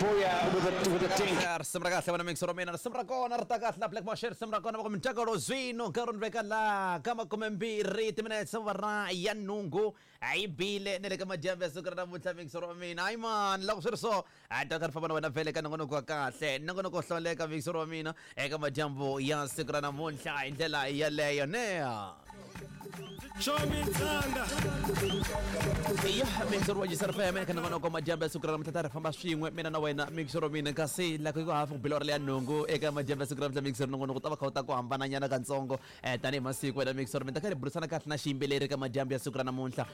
Booyah with a dink. Risimu ra kahle vana mixo ra mina, risimu ra kona ri ta kahle na Black Mashe, risimu ra kona va ku mintakalo zwino. Nkarhi ni veka la ka 20 timinetse ra ya nhungu a yi bile ni le ka madyambu ya siku ra namuntlha, mixo ra mina. Hayi mani, loko swi ri so a ta ka ri famba na wena vhele ka nongonoko wa kahle, nongonoko wo hlawuleka, mixo ra mina, eka madyambu ya siku ra namuntlha hi ndlela yeleyo nea. Ya mixo wa Jisar FM eka nongonoko madyambu ya siku ra namuntlha, ta ri famba swin'we mina na wena, mixo ra mina. Kasi loko ku hafu ku bila ri leya nhungu eka madyambu ya siku ra namuntlha, mixo nongonoko ta va kha wu ta ku hambananyana katsongo tanihi masiku wena, mixo ra mina. Ta kha ri burisana kahle na xiyimbeleri eka madyambu ya siku ra namuntlha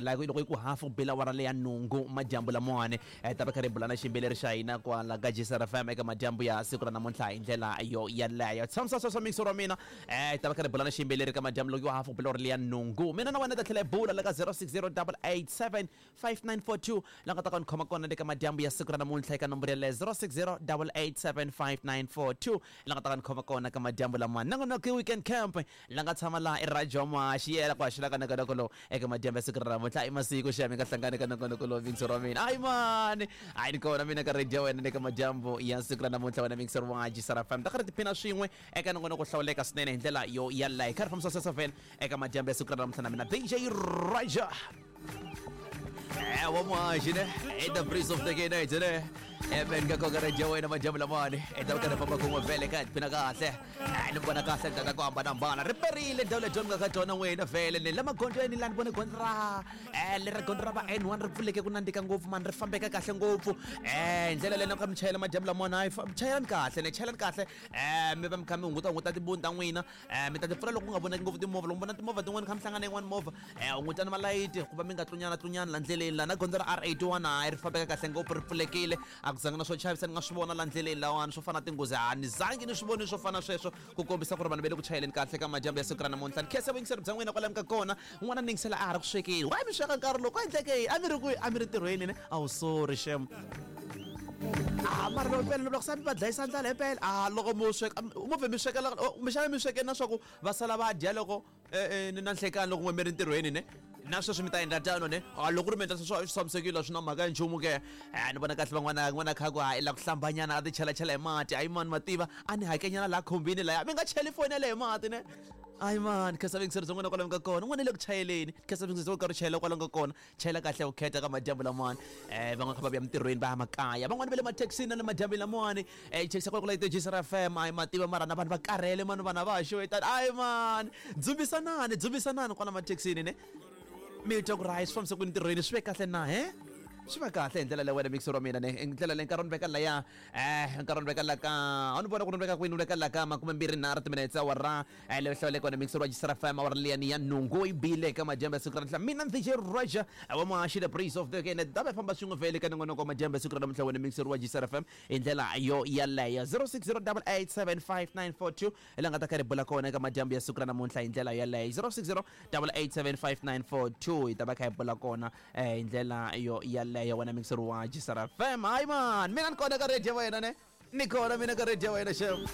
loko loko yi ku hafu ku bila wara leya nhungu madyambu lamawani, ta va kha ri bula na xiyimbeleri xa hina kwala ka Jisar FM eka madyambu ya siku ra namuntlha hi ndlela yo yeleyo. Tshamisa sweswo, mixo ra mina. Ta va kha ri bula na xiyimbeleri ka madyambu loko yo hafu ku bila wara leya nhungu. Mina na wena ta tlhela hi bula la ka 060 887 5942, la nga ta ka ni khoma kona le ka madyambu ya siku ra namuntlha eka nomboro yaleyo 060 887 5942, la nga ta ka ni khoma kona ka madyambu lamawani. Nongonoko Weekend Camp, la nga tshama laha i Radio Mashi yela ku haxela ka nongonoko lowu eka madyambu ya siku ra namuntlha. I masiku xa mi nga hlangani ka nongonoko lowu, mixo ra mina. Hayi mani, hayi ni kona mina ka radio wena le ka madyambu ya siku ra namuntlha wena, mixo wa Jisara FM. Ta kha ri tiphina swin'we eka nongonoko hlawuleka swinene hi ndlela yo yaleyo. Hi kha ri fambisa sweswo vhele eka madyambu ya siku ra namuntlha na mina DJ Raja wa muhaxi ne i the breeze of the night ne Amen ka koka radio wena madyambu lamawani. I ta karhi famba kun'we vhele ka tiphina kahle. Ni vona kahle ta ku hambanahambana ri perile ndhawu leyi nga ka tona wena vhele ni la magondzweni la ni vone gondzo ra leri gondzo ra va N1 ri pfuleke ku nandzika ngopfu mani, ri fambeka kahle ngopfu hi ndlela leyi. Na ka mi chayela madyambu lamawani, hayi, chayelani kahle ne, chayelani kahle mi va mi kha mi hunguta hunguta tibuni ta n'wina, mi ta ti pfula loko ku nga vonaki ngopfu timovha. Loko mi vona timovha tin'wana kha mi hlangana yin'wana movha, hungutani malayiti ku va mi nga tlunyana tlunyana la ndleleni. La na gondzo ra R81 hayi ri fambeka kahle ngopfu, ri pfulekile, a ku zanga na swo chavisa ni nga swi vona la ndleleni lawani swo fana na tinghozi, a ni zangi ni swi voni swo fana sweswo, ku kombisa ku ri vanhu va le ku chayeleni kahle ka madyambu ya siku ra namuntlha. Ni khensa vuyingiseri bya n'wina kwalamu ka kona. N'wana ni yingisela a ha ri ku swekeni, why mi sweka nkarhi lowu? Ku endleke yini? A mi ri kwihi? A mi ri ntirhweni ne? A wu sorry shem. A mara loko mpela loko sa mi va dlayisa ndlala himpela, a loko mo sweka mo vhe mi swekela kumbexana mi sweke na swa ku va sala va dya loko na nhlekani loko n'we mi ri ntirhweni ne, na sweswi mi ta endla tano ne? A loko ku ri mi endla sweswo swi tshamisekile, a swi na mhaka ya nchumu ke. Ni vona kahle van'wana n'wana kha ku ha i la ku hlambanyana, a ti chelachela hi mati. Hayi mani, mativa a ni hakenyana laha khumbini laya, mi nga cheli foni yaleyo hi mati ne. Hayi mani, khensa vuyingiseri bya n'wina kwalamu ka kona. N'wana le ku chayeleni, khensa vuyingiseri bya karhi u chayela kwalamu ka kona. Chayela kahle vukheta ka madyambu lamawani. Van'wana kha va vuya mintirhweni, va ya makaya, van'wana va le mathekisini na le madyambini lamawani, chekisa kwala ku la Jisara FM. Hayi mativa mara na vanhu va karhele mani, vanhu a va ha xewetani. Hayi mani, dzumbisanani, dzumbisanani kwala mathekisini ne, mi twa ku ri hayi swi fambisa ku ntirhweni swi ve kahle na he swi va kahle hi ndlela leyi wena, mixer wa mina ne, hi ndlela leyi. Nkarhi ni veka laya nkarhi ni veka la ka a ni vona ku ni veka kwini, ni veka la ka 23 timinetse awara leyo hlawuleka wena, mixer wa Jisara FM. Awara liyani ya nhungu yi bile eka madyambu ya siku ra namuntlha. Mina DJ Raja wa muhaxi, the breeze of the weekend, ta va famba swin'we vhele ka nongonoko wa madyambu ya siku ra namuntlha wena, mixer wa Jisara FM, hi ndlela yo yaleyo. 0608875942 la nga ta kha ri bula kona eka madyambu ya siku ra namuntlha hi ndlela yaleyo. 0608875942 hi ta va kha hi bula kona hi ndlela yo yaleyo wena, mixer wa Jisara FM. Hayi man, mina ni kona ka radio wena ne, ni kona mina ka radio wena xem.